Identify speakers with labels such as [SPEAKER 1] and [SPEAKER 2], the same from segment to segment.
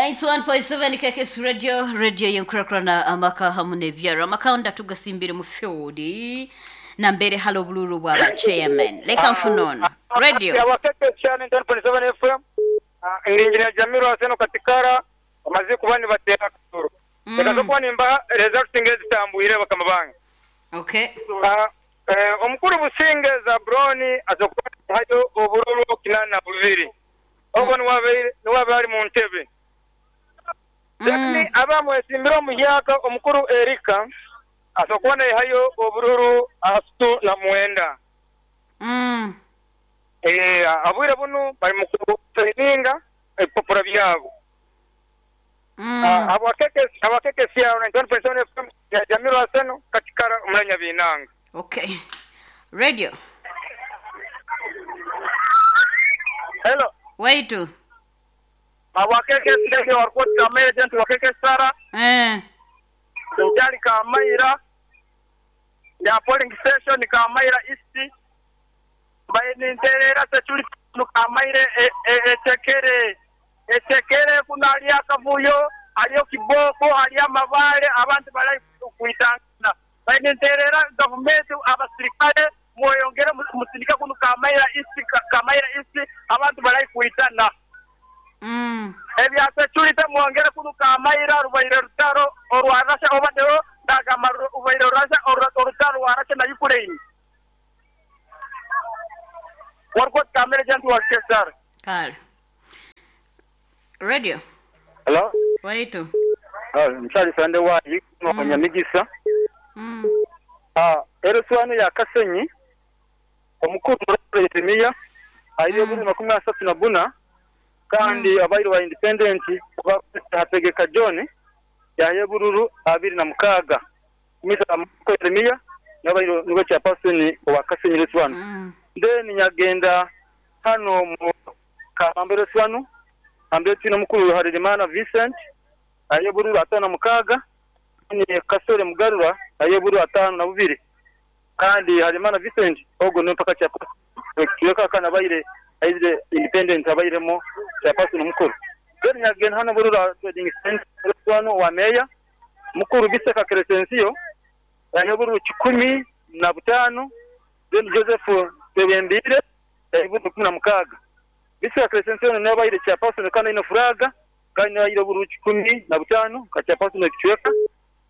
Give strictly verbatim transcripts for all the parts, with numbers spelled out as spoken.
[SPEAKER 1] Ninety-one point seven K K S Radio, radio yenkurakurana amaka hamu n'ebyaro. Amaka ndatuga mu field na mbere halo bululu bwa chairman. Leka mfunono. Radio.
[SPEAKER 2] Ya K K S ninety-one point seven F M. Engineer Jamiru Aseno Katikara amaze kuba nibatera kasoro. Leka zokuba nimba results ngezitambwire bakama bange.
[SPEAKER 1] Okay.
[SPEAKER 2] Uh, omukuru Businge Zabroni azokuba hayo obururu kinana bubiri. Obo niwabe niwabe ali mu ntebe. Lakini abamwe simbiro muhyaka omukuru Erika azokuba hayo obururu asutu na mwenda.
[SPEAKER 1] Mm.
[SPEAKER 2] Eh abwire bunu bali mu kusayininga ebipapura byabo.
[SPEAKER 1] Mm.
[SPEAKER 2] Uh, abakeke abakeke siya ninety-one point seven F M ya Jamiru Aseno Katikara umulanya binanga.
[SPEAKER 1] Okay. Radio.
[SPEAKER 2] Hello.
[SPEAKER 1] Waitu.
[SPEAKER 2] Abakeke ndeke warikoti agent wakeke sara.
[SPEAKER 1] Eh.
[SPEAKER 2] Njali Kamaira. Ya polling station Kamaira East. Baye ninterera security Kamaire etekere. Etekere kuna aliya kavuyo, aliyo kiboko, aliya mabale, abantu balai kuitangana. Baye ninterera government abasirikale mweyongere musindika kuno Kamaira East, Kamaira East abantu balai kuitana.
[SPEAKER 1] Mm.
[SPEAKER 2] Ebya security mwongere kuno Kamaira rubaire rutaro orwarasha obadeo ndagama rubaire rurasha orutaro rwarasha na Ukraine. Warkot Kamaira jantu wakesar.
[SPEAKER 1] Kale. Radio.
[SPEAKER 2] Hello.
[SPEAKER 1] Waitu.
[SPEAKER 2] Ah, mchali sande wayi no Nyamigisa.
[SPEAKER 1] Mm.
[SPEAKER 2] Ah, eroswano ya Kasenyi omukuru Yeremia ayo buri makumi asatu na buna kandi mm. abairo wa independent hategeka John yaye bururu abiri na mukaga misa Yeremia nabairo niwe cha person wa Kasenyi reswano.
[SPEAKER 1] Mm.
[SPEAKER 2] Then nyagenda hano mu Kamambe reswano ambe tino mukuru Harerimana Vincent aye bururu atano na mukaga ni Kasore Mugarura aye bururu atano na bubiri kandi Harerimana Vincent ogo no mpaka cha kiyoka kana baire aizire independent abairemo cha person mukuru. Then nyagenda hano bururu trading center reswano wa meya mukuru Biseka Crescencio aye bururu kikumi na butano then Joseph Tebembire aye bururu kumi na mukaga. Biseka Crescencio ne baire cha person kana ino furaga kandi aye bururu kikumi na butano ka cha person kichweka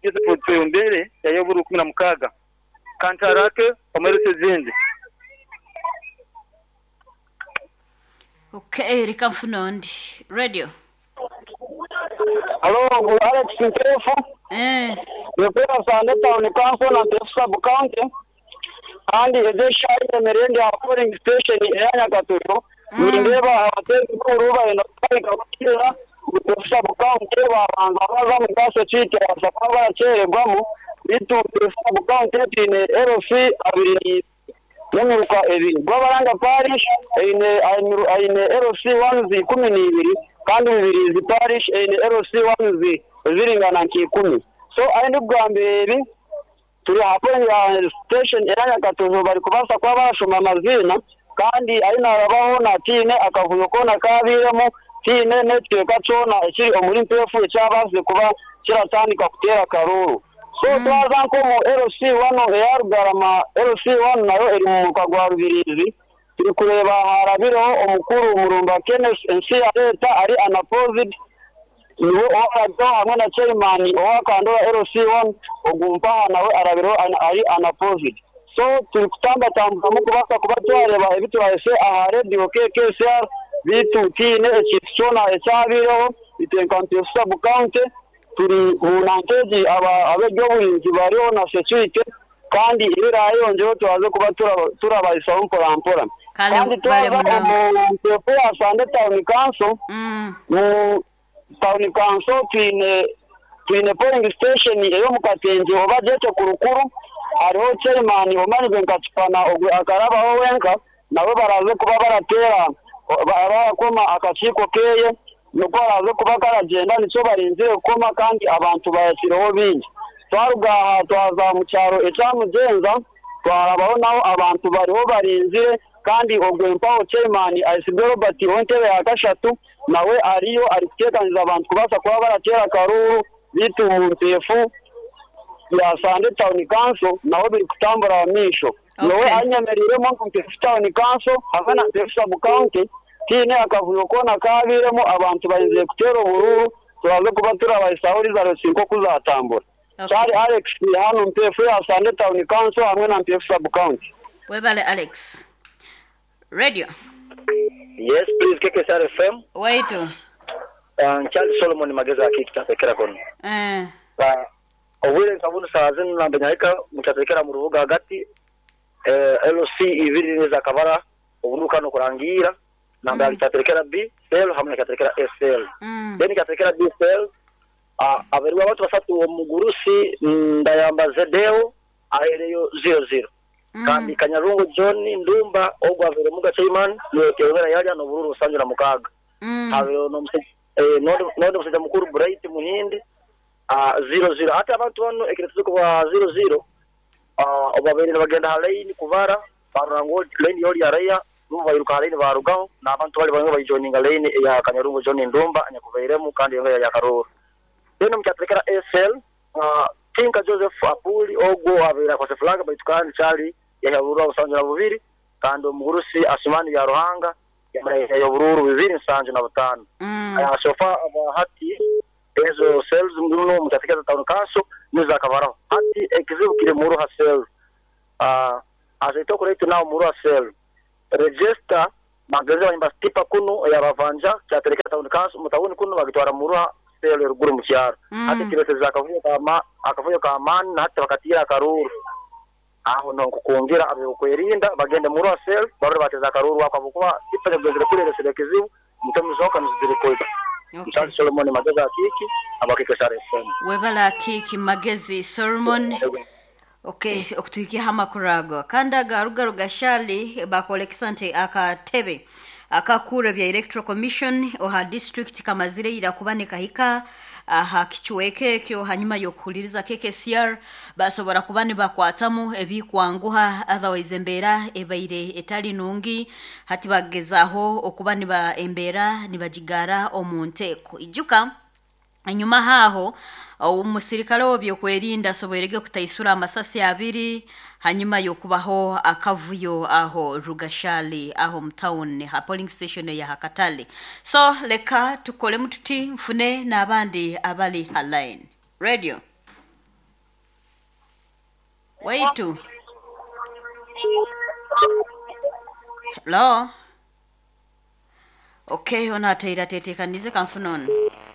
[SPEAKER 2] Joseph Tebembire aye bururu kumi na mukaga kantarake omerese zindi.
[SPEAKER 1] Okay, reka mfunondi. Radio.
[SPEAKER 3] Hello, Alex Ntefu.
[SPEAKER 1] Eh.
[SPEAKER 3] Nipera Sande Town Council na Ntefu Sub County. Kandi edesha yemerende ya polling station ya Nyakaturo. Nindeba abatezi kuruba eno kaika kukira Ntefu Sub County babanza baza mu kaso chike basaba bacheregwamu bitu Ntefu Sub County tine L C abiri n'emiruka ebiri Gwabaranga parish eine eine L C one zi kumi n'ibiri kandi bibiri zi parish eine L C one zi ziringana nk'ikumi. So ayi kugamba ebi turi hapo ya station era Nyakatozo bari kubasa kuba barashoma amazina kandi ayi narabaho na tine akavuyo kona kabiremo tine netweka cona ekiri omuri Ntefu ekyabaze kuba kiratandika kutera karuru. So mm. twaza nko mu L C one eya Rugarama L C one nayo eri mu muka gwa Rubirizi turi kureba harabireho omukuru Murumba Kenneth ensi ya leta ari unopposed niwe owarabyo hamwe na chairman owakandora L C one ogumpaha nawe arabireho ari unopposed. So turi kutambatamburamu kubasa kuba twareba ebi turahese aha radio K K S R bitu tiine ekintu kyona ekyabireho itenka Ntefu Sub County turi mu nankeji aba ab'ebyobuhinzi bariho na security kandi ibirayongeho turaze kuba turabahisaho mpora mpora. Kandi twaza mu Ntefu ya Sande Town Council mu Town Council twine twine polling station eyo mu Katenje oba jete kurukuru hariho chairman omanyize nkakipana akarabaho wenka nabo baraze kuba baratera barakoma akakiiko keye nuko baraze kuba karagenda nicyo barinzire kukoma kandi abantu bayashireho bingi. Twaruga aha twaza mu cyaro ekyamugenza twarabaho naho abantu bariho barinzire kandi ogwe mpaho chairman Aisibe Robert ontebe ya kashatu Nawe ariyo ari kuteekaniza abantu kubaasa kuba barateera akaruru bitu mu Mpeefu ya Sande Town Council naho biri kutambura mu maisho. Nowe
[SPEAKER 1] Okay.
[SPEAKER 3] anyemereiremu ngu Mpeefu Town Council hamwe na Mpeefu Sub County tiine akavuyo koona kaabiremu abantu baizire kuteera obururu turaze kuba turabahisaho results nk'oku zatambura.
[SPEAKER 1] Okay.
[SPEAKER 3] Kyari Alex hano Mpeefu ya Sande Town Council hamwe na Mpeefu Sub County.
[SPEAKER 1] Webale Alex. Radio.
[SPEAKER 4] Yes, please K K S R F M.
[SPEAKER 1] Waitu.
[SPEAKER 4] Uh, Charles Solomon Mageza akitatekera kono.
[SPEAKER 1] Eh.
[SPEAKER 4] Uh, obwire nkabunu saa zinu nambenya mutatekera mu rubuga hagati eh, L C ibiri neza kabara obunuka no kurangira namba mm. Kitatekera B cell hamwe na kitatekera S L.
[SPEAKER 1] Mm.
[SPEAKER 4] Then kitatekera B cell uh, aberwa abantu basatu omugurusi ndayamba Zedeo ahereyo zero zero.
[SPEAKER 1] Mm.
[SPEAKER 4] Kandi Kanyarungu John Ndumba ogwa avere muga Chaiman niwe teobera yalya no bururu sanju na mukaga.
[SPEAKER 1] Mm.
[SPEAKER 4] Havero no mse eh no no musajja mukuru Bright Muhindi ah zero zero ate abantu bano ekiretuzo kwa zero zero ah obabere bagenda halaini kubara barango line yoli araya nubu bayiruka halaini barugaho n'abantu bali bamwe bayijoininga line ya Kanyarungu John Ndumba anyakuveiremu kandi yonga ya Karuru. Then mukyatekera S L ah Tinka Joseph Apuli ogwo abera kwa flag baitukani chali yahabura usanju na bubiri kandi omugurusi Asumani ya Ruhanga yamara yobururu bibiri nsanju na butano.
[SPEAKER 1] Mm.
[SPEAKER 4] Aya sofa hati ezo cells muno mutatekeza town council niza kabaraho hati ekizibu kire muruha cell ah azaito kuretu nawo muruha cell register mageze banyimba stipa kuno yabavanja cyatereka town council mutawuni kuno bagitwara muruha cell ruguru mu cyaro.
[SPEAKER 1] Mm.
[SPEAKER 4] Hati kireteza akavuyo kama akavuyo kamani na hati bakatira akaruru aho no kukongira abekwerinda bagende muruha cell barore bateza akaruru wakabukuba tipa kugezera kuri kizibu mutemuzoka nuzirikoza.
[SPEAKER 1] Okay.
[SPEAKER 4] Solomon Magezi akiki abakike S R F M.
[SPEAKER 1] Webala akiki Magezi Solomon. Okay, okutuhikia amakuru ago. Kandi agaruga rugashali bakolekesa nti akatebe akakura bya Electoral Commission oha district kamazire ira kuba nikahika aha kichweke ekyo hanyuma yokuhuliriza K K S R basobora kuba nibakwatamu ebikwanguha otherwise embeera ebaire etali nungi hati bagezaho okuba niba embeera nibagigara omu nteeko. Ijuka enyuma haho omusirikale w'ebyokwerinda asoboirege kutaisura amasasi abiri hanyuma yokubaho akavuyo aho Rugashali aho mtown ha polling station ya Hakatale. So leka tukole mututi mfune n'abandi abali ha line. Radio. Waitu. Hello. Okay, ona ataira tetekanize kamfunono.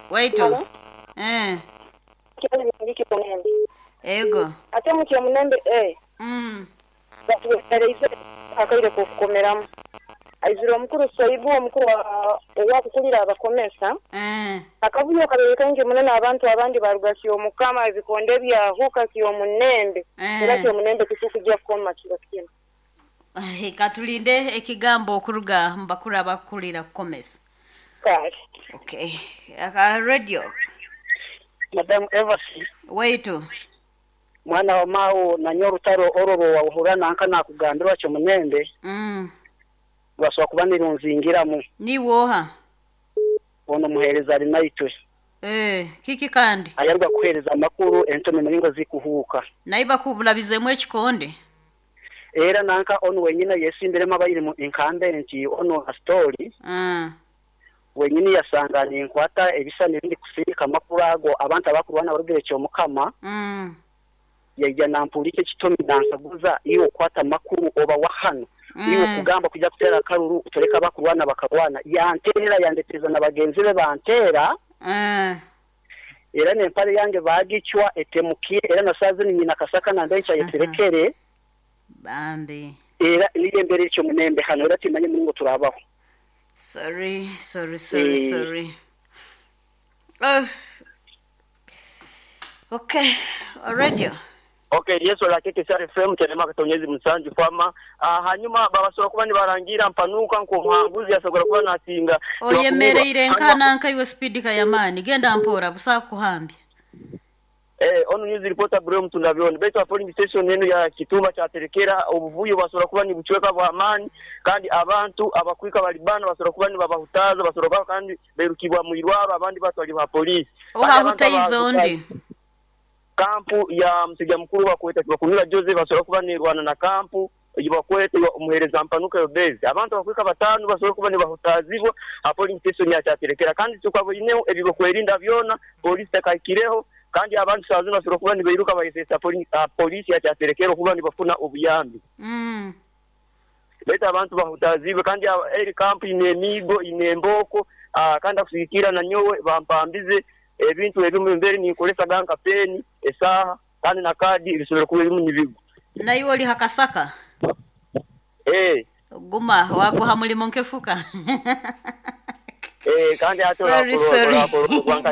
[SPEAKER 1] Waitu.
[SPEAKER 5] Hello?
[SPEAKER 1] Eh.
[SPEAKER 5] Kyali ngiki munembe.
[SPEAKER 1] Ego.
[SPEAKER 5] Ate mu kyemunembe eh.
[SPEAKER 1] Mm.
[SPEAKER 5] Batuweereze akaire kukomeramu. Aizira omukuru Soibu omukuru owakukulira abakomesa.
[SPEAKER 1] Eh.
[SPEAKER 5] Akavuyo kabereka nje munene abantu abandi baruga Kyomukama ebikonde byahuka Kyomunembe.
[SPEAKER 1] Eh.
[SPEAKER 5] Era Kyomunembe kitukujja kukoma kiro kino.
[SPEAKER 1] Katulinde ekigambo okuruga mbakuru abakulira kukomesa.
[SPEAKER 5] Kale.
[SPEAKER 1] Okay. Aka radio.
[SPEAKER 6] Madam Evasi.
[SPEAKER 1] Waitu.
[SPEAKER 6] Mwana wa mao na nyorutaro ororo wahura nanka nakugambirwa Kyomunembe.
[SPEAKER 1] Mm.
[SPEAKER 6] Baswa kuba nirunzingiramu.
[SPEAKER 1] Ni woha.
[SPEAKER 6] Ono muhereza ari naitwe.
[SPEAKER 1] Eh, kiki kandi?
[SPEAKER 6] Ayarwa kuhereza amakuru entome muringo zikuhuka.
[SPEAKER 1] Naiba kubulabizemu ekikonde.
[SPEAKER 6] Era nanka ono wenyina yesimbiremu abayiri mu incumbent ono a story.
[SPEAKER 1] Mm.
[SPEAKER 6] Wenyini yasanga ninkwata ebisa n'ibindi kusirika amakuru ago abantu abakurwana barugire Kyomukama.
[SPEAKER 1] Mm.
[SPEAKER 6] Yajya nampulike kitomi nansaguza iyo kwata amakuru oba wahano.
[SPEAKER 1] Mm.
[SPEAKER 6] Iyo kugamba kujya kutera akaruru utoreka abakurwana bakarwana yantera yandeteza na bagenzi be bantera.
[SPEAKER 1] Mm.
[SPEAKER 6] Era nempare yange bagicwa etemukiye era nasaze ni nyina kasaka na ndencha yeterekere.
[SPEAKER 1] Bambi.
[SPEAKER 6] Era niye mbere cyo munembe hano era timanye muri ngo turabaho.
[SPEAKER 1] Sorry, sorry, sorry,
[SPEAKER 6] Eh.
[SPEAKER 1] sorry. Oh. Okay, radio.
[SPEAKER 7] Okay, yesu la K K S R F M terema katonyezi musanju kwama ah, hanyuma babasobola kuba nibarangira mpanuka nko muhanguzi yasobola kuba nasinga
[SPEAKER 1] Oyemereire nkana nka iwe speed kayamani genda mpora busa kuhambya.
[SPEAKER 7] Eh, ono news reporter bro mtundabyoni baitu a polling station eno ya Kitumba kyaterekera obuvuyo basobola kuba nibucweka bwa amani kandi abantu abakwika balibana basobola kuba nibabahutaza basobola kuba kandi berukibwa mu irwaro abandi batwali ba polisi
[SPEAKER 1] Ohahuta izondi
[SPEAKER 7] kampu ya msiga mukuru bakweta bakunira Joseph basobola kuba nirwana na kampu ibakwete omuhereza mpanuka yobezi abantu abakwika batano basobola kuba nibahutazibwa a polling station ya kyaterekera kandi tukaboineho ebibokwerinda byona polisi takaikireho kandi abantu sazina basobola kuba nibairuka bayesesa polisi ya kyaterekera kuba nibafuna obuyambi
[SPEAKER 1] mm.
[SPEAKER 7] Leta abantu bahutazibwe kandi eri kampu ine emigo ine emboko uh, kandi akusigikira na nyowe bampambize ebintu ebimu mbere ninkolesa ganka peni esaha kandi na kadi bisobora kuba ebimu nibigo
[SPEAKER 1] na iwe oli hakasaka
[SPEAKER 7] eh
[SPEAKER 1] guma waguha mulimo nkefuka
[SPEAKER 7] eh kandi ato
[SPEAKER 1] sorry sorry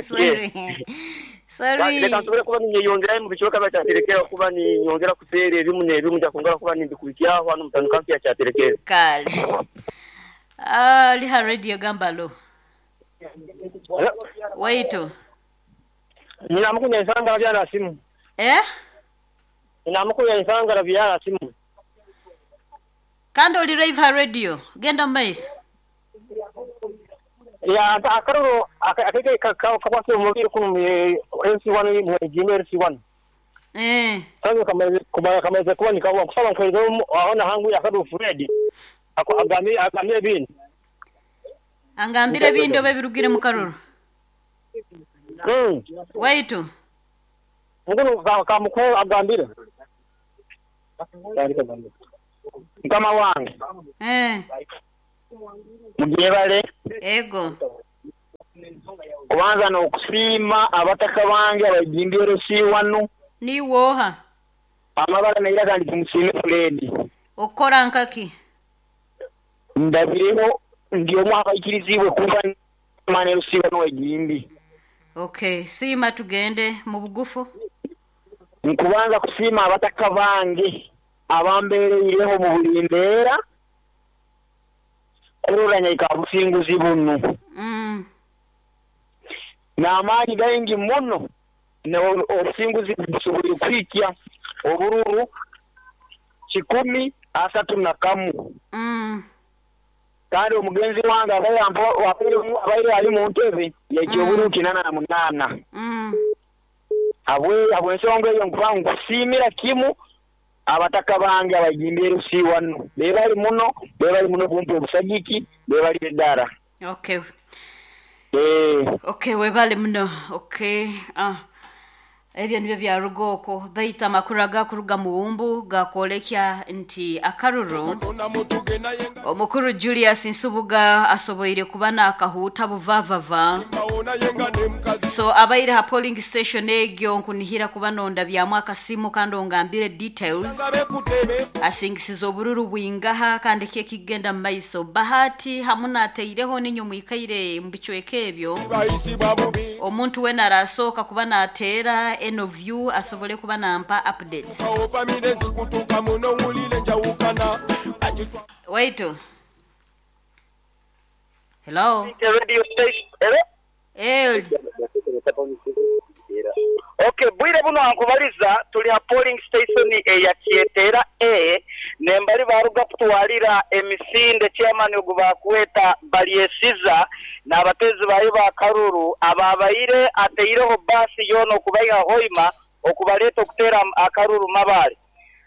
[SPEAKER 1] sorry sorry
[SPEAKER 7] reka nsobore kuba ninyeyongera mu bicoka bacyaterekera kuba ninyongera kutere ebimu n'ebimu nja kongera kuba nindikubikyaho hano mutano kampi ya cyaterekera
[SPEAKER 1] kale ah liha radio gambalo waito
[SPEAKER 3] ninamukunya nsangala byana simu
[SPEAKER 1] eh
[SPEAKER 3] ninamukunya nsangala byana simu
[SPEAKER 1] kandi oli live ha radio genda maiso
[SPEAKER 3] ya akaroro akeke kakwase mubiri kuno M C one mu Gmail M C one
[SPEAKER 1] eh
[SPEAKER 3] sasa kama kama kama kuba nikawa kusaba nkweza aona hangu yakadu Fred ako agami agamire bindi
[SPEAKER 1] angambire bindi obe birugire mu karoro
[SPEAKER 3] mm
[SPEAKER 1] waitu
[SPEAKER 3] nguno kamuko agambire mukama wange
[SPEAKER 1] eh
[SPEAKER 3] mugyebale
[SPEAKER 1] ego
[SPEAKER 3] kubanza n'okusiima abataka bange abagimbye C one
[SPEAKER 1] niwoha
[SPEAKER 3] amabala naira kandi tumusiime Fred
[SPEAKER 1] okora nkaki
[SPEAKER 3] ndabireho ndi omu abayikirizibwe kuva manero C one wegimbi
[SPEAKER 1] okay siima tugende mu bugufu
[SPEAKER 3] nkubanza kusiima abataka bange abambeereireho mu buli mbeera kuroranya ikabusinguzi buno
[SPEAKER 1] mm.
[SPEAKER 3] n'amaanyi gaingi muno obusinguzi busobole kwikya obururu kikumi asatu na kamu
[SPEAKER 1] mm.
[SPEAKER 3] kandi omugenzi wange abaire ali mu ntebe yaikya obururu kinana na munaana
[SPEAKER 1] mm.
[SPEAKER 3] abwe abwensonga eyo nkuba nkusiimira kimu abataka bange abagimbye C one bebali muno bebali muno kumpa obusagiki bebali eddara
[SPEAKER 1] okay
[SPEAKER 3] eh
[SPEAKER 1] okay webale muno okay ah ebyo nibyo byaruga okwo baita amakuru agakuruga mu wumbu gakwolekya nti akaruru omukuru Julius Nsubuga asoboire kuba n'akahuuta buvavava so abaire ha polling station egyo nkunihira kuba nonda byamu akasimu kandi ongambire details asingisiza obururu bwingaha kandi ki ekigenda mu maiso bahati hamu nateireho ninyo mwikaire mu bicweka ebyo omuntu wena arasooka kuba nateera eno view asobole kuba nampa updates waito hello
[SPEAKER 2] radio station
[SPEAKER 1] eh
[SPEAKER 2] okay bwire buno ankubaliza tuli ha polling station eya Kyetera A nembali baruga kutwalira emisinde chairman ogubakweta balyesiza n'abatezi bayo ba karuru ababaire ateireho basi yono okubaiha hoima okubaleta okutera akaruru mabale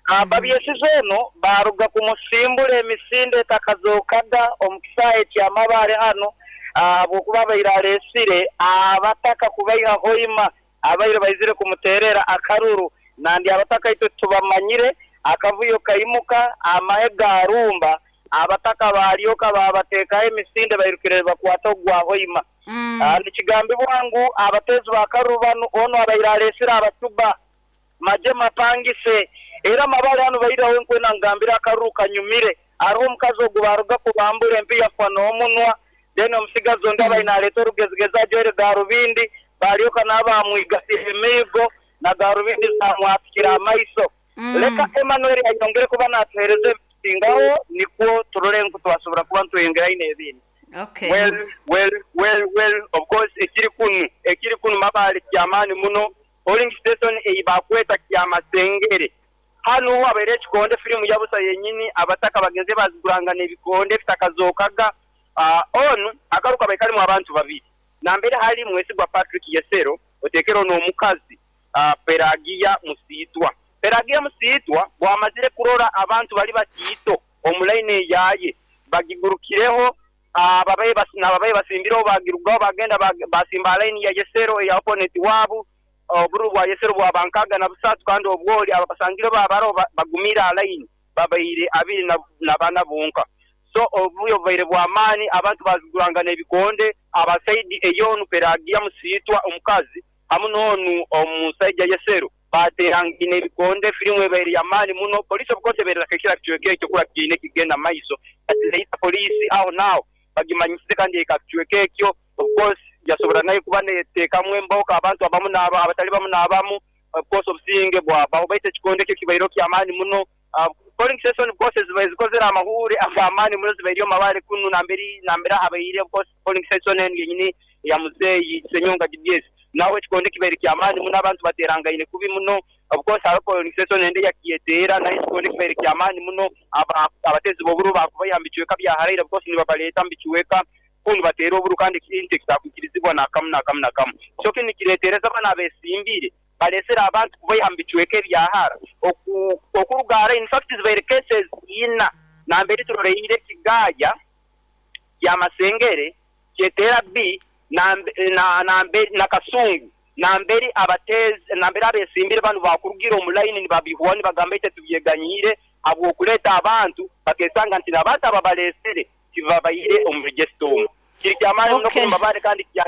[SPEAKER 2] ababyesiza ono baruga kumusimbula emisinde etakazokada omukisaye kya mabale hano ahabwokuba baire alesire abataka kubaiha hoima abaire baizire kumuterera akaruru nandi abataka itwe tubamanyire akavuyo kaimuka amahe garumba abataka balyoka babatekaho emisinde bairukire bakwata ogwa hoima
[SPEAKER 1] mm.
[SPEAKER 2] nikigambibwa ngu abatezi bakaruru bano ono abaire alesire abatuba maje mapangise era mabale hano baireho nkwena ngambira akaruru kanyumire ariho omukazi ogu baruga kubambura empi yafa n'omunwa then omusigazi ondi abaine aleeta orugezigezi ajwaire garubindi balyoka n'abamwigasire emiigo na garubindi zamwatikira amaiso
[SPEAKER 1] mm.
[SPEAKER 2] leka Emmanuel ayongere kuba natuhereza ebisingaho nikwo turore ngu twasobora kuba ntweyongerayo n'ebindi
[SPEAKER 1] okay
[SPEAKER 7] well well well well of course ekiri kunu ekiri kunu mabale kyamaani muno Polling station eyibakweta Kyamasengere. Hano habaire ekikonde firimu yabusa yenyini, abataka bagenze bazigurangana ebikonde bitakazokaga. Uh, onu akaruka baikalimu abantu babiri, nambere hali Mwesigwa Patrick Yesero otekero n'omukazi uh, Peragia Musiitwa. Peragia Musiitwa bwamazire kurora abantu bali batiito omulaini yaye bagigurukireho, ababaye bas, nababaye basimbireho bagirugaho bagenda bag, basimba line ya Yesero ya opponent wabu. Oburu bwa Yesero bwabankaga na busatu kandi obwoli abasangire babaro bagumira line babaire abiri na, na bana bonka. So obuyo bubaire bw'amaani, abantu bazigurangana ebikonde. Abasaidi eyonu Peragia Musiitwa omukazi hamu n'onu omusaija Yesero baterangine ebikonde, firimu ebaire y'amaani muno. Polisi obukosi ebaire kekira kicweka ekyo kura kiine kigenda maiso, ati polisi aho naaho bagimanyisize kandi eka kicweka ekyo obukosi yasobora nayo kuba neteekamu emboka abantu abamu n'aba abatali bamu n'abamu. Obukosi obusinge bwabaho baita ekikonde ekyo kibaire ky'amaani muno. Uh, polling station of zibaire zikozere amahure ag'amaani muno, zibaire mabare kunu namberi nambera habaire of course polling station enu yenyini ya muzeeyi Senyonga G B S naho ekikonde kibaire ky'amaani muno, abantu baterangaine kubi muno. Of course hariho polling station ende yakiyeteera nayo ekikonde kibaire ky'amaani muno, abatezi b'oburu bakubayiha mu bicweka bya haraire, of course nibabaleeta mu bicweka kunu bateera oburu kandi ekintu ekitaakwikirizibwa nakamu nakamu nakamu. So kinu nikireetereza abana abesimbire balesera abantu kubaiha mu bicweka ebyahara okurugara. In fact zibaire cases ina nambere turoreire Kigaya Kyamasengere, Kyetera B na na na Kasungu, nambere abatezi nambere abesimbire banu bakurugira omulaini nibabihwa nibagamba ite tubyeganyire habwokuleta abantu bakesanga nti n'abantu ababalesere tibabaire omu register omu kiri kyamaani muno.
[SPEAKER 1] Okay.
[SPEAKER 7] Kumabare kandi kya